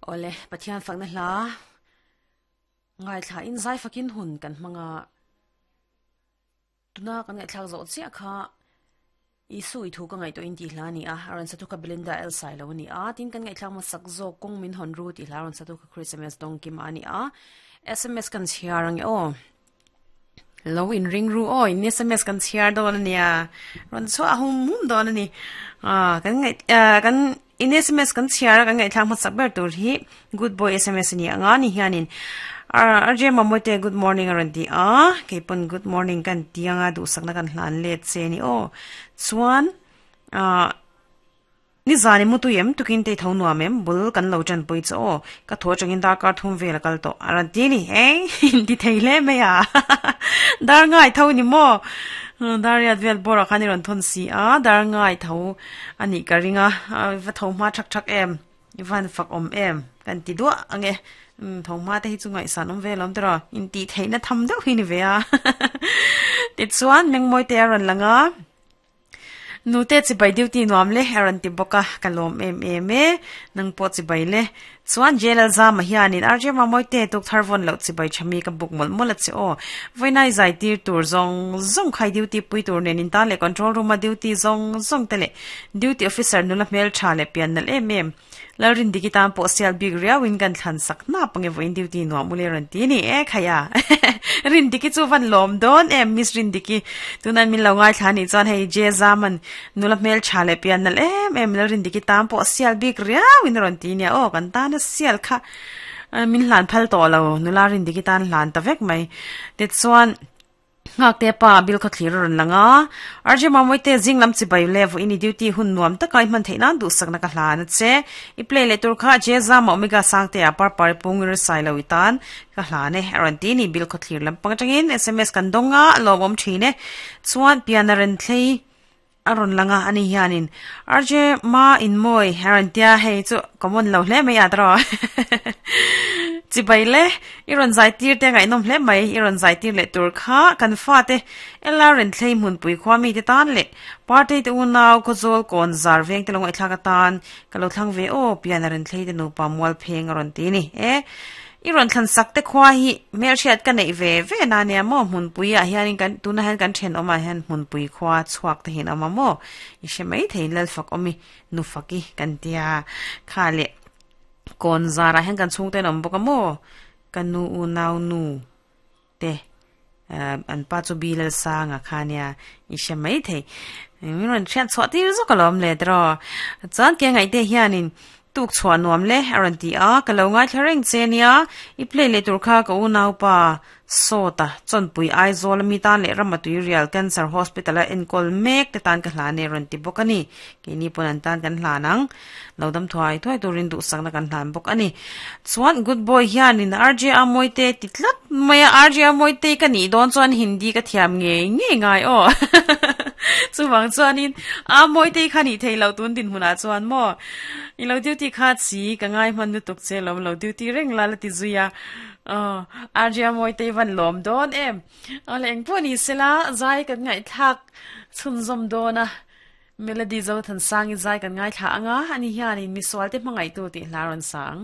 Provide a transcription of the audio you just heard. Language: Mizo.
Awle, Pathian fakna hla ngaithla in zai fakin hun kan hmang a, tuna kan ngaihthlak zawh chiah kha Isu i thu ka ngaihtuah in tih hla a ni a, a rawn satu kha Belinda El Sailo a ni a, tin kan ngaihthlak hmasak zawk kawng min hawn ru tih hla a rawn satu kha Christmas Dawngkima a ni a, sms kan chhiar ang e aw. Lo in ring ru aw in sms kan chhiar dawn a nia rawn chhuah hum hum dawn a ni ah kan ngaih ah kan in sms kan chhiar a kan ngaihthlak hmasak ber tur hi good boy sms a ni ang a ni hianin ah RJ Mamawite good morning a rawn ti a keipawn good morning kan ti ang a duhsakna kan hlan let che a ni aw chuan ah. Nizan i mutui em tukin te i tho nuam em bul kan lo tanpui chu aw ka thaw atangin darkar thum vel a kal tawh a rawn ti a ni eng inti thei hle mai a dar ngai tho ni maw dar riat vel bawrah khan i rawn thawn si a dar ngai tho a nih ka ring a va tho hma thak thak em i van fak awm em kan ti duah ang e tho hma te hi chu ngaihsan awm vel awm tiraw intih theihna tham deuh hi ni ve a tichuan mengmawi te a rawn lang a. Nute chibai duty nuam le a rawn ti bawk a, ka lawm em em e, nang pawh chibai le. Chuan Jail Alzama hianin RJ Mamawite tuk thar vawn loh chibai tha mi ka buk mawlh mawlh a che aw. Vawiinai zai tir tur zawng zawng khai duty pui tur nen in tan leh control room a duty zawng zawng te leh duty officer nula hmeltha leh pian nalh em em. Lalrindiki tan pawh sial bik riau in kan thlan sak hnap ange vawiin duty nuam ule rawn ti ni e khaia Rindiki chu van lawm dawn em Miss Rindiki tunan min lo ngaithla anih chuan hei J Zaman nula hmel tha leh pian nalh em em Lalrindiki tan pawh sial bik riau in rawn ti nia aw kan tana sial kha min hlan phal tawh lo nula Rindiki tan hlan ta vek mai tichuan Nghakte pa bill kha thlir a rawn lang a, RJ Mamawite zing lam chibai le vawiin i duty hun nuam taka i hman theih nan duhsakna ka hlan a che. I play leh tur kha Jezama Omega Sangtea Parpar i pungir sai lo i tan ka hlan e a rawn ti ni bill khaw thlir lampang atangin sms kan dawng a, a lawmawm thin e. Chuan pian a ren thlei A rawn lang a, ani hianin RJ ma in mawi a rawn tia hei chu common lo hle mai a tawh chibai le i rawn zai tir te ngaihnawm hle mai i rawn zai tir leh tur kha kan fate LR in thlei hmunpui khua mite tan leh party te unau khawzawl kawn zar veng te lo ngaihthlak atan ka lo thlang ve aw pian a rawn thlei te nupa mual pheng a rawn ti ni e. I rawn thlan sak te khua hi hmelhriat ka neih ve ve na nia maw hmunpui ah hianin kan tunah hian kan thenawm ah hian hmunpui khua chhuak te hian a awm a maw i hre mai thei lalfak awm i nufak i kan tia kha leh kawn zar ah hian kan chhungte an awm bawk a maw ka nu unau nu te an pa chu bi lalsanga kha nia i hre mai thei min rawn hriat chhuah tir zawk alawm le tiraw chuan ke ngaihte hianin tuk chhuah nuam le a rawn ti a ka lo ngaithla reng che nia i play leh tur kha ka unaupa sawta chawnpui Aizawl ami tan leh rama tuirial cancer hospital a enkawl mek te tan ka hlan e a rawn ti bawk a ni keini pawn an tan kan hlan ang. Lo dam thuai thuai turin duhsakna kan hlan bawk a ni. Chuan good boy hianin RJ Amawite ti tlat mai a, RJ Amawite ka nih dawn chuan Hindi ka thiam ngei ngei ngai aw. Chuvang chuanin Amawite kha nih theih loh tun dinhmunah chuan maw i lo duty kha chi ka ngai hman lutuk che lawm lo duty reng la la ti zui a. Aw RJ Amawite van lawm dawn em. Aw le engpawh ni sela zai kan ngaihthlak chhunzawm dawn a. Melody Zothansang i zai kan ngaithla ang a, ani hianin misualte hmangaihtu tih hla rawn sa ang.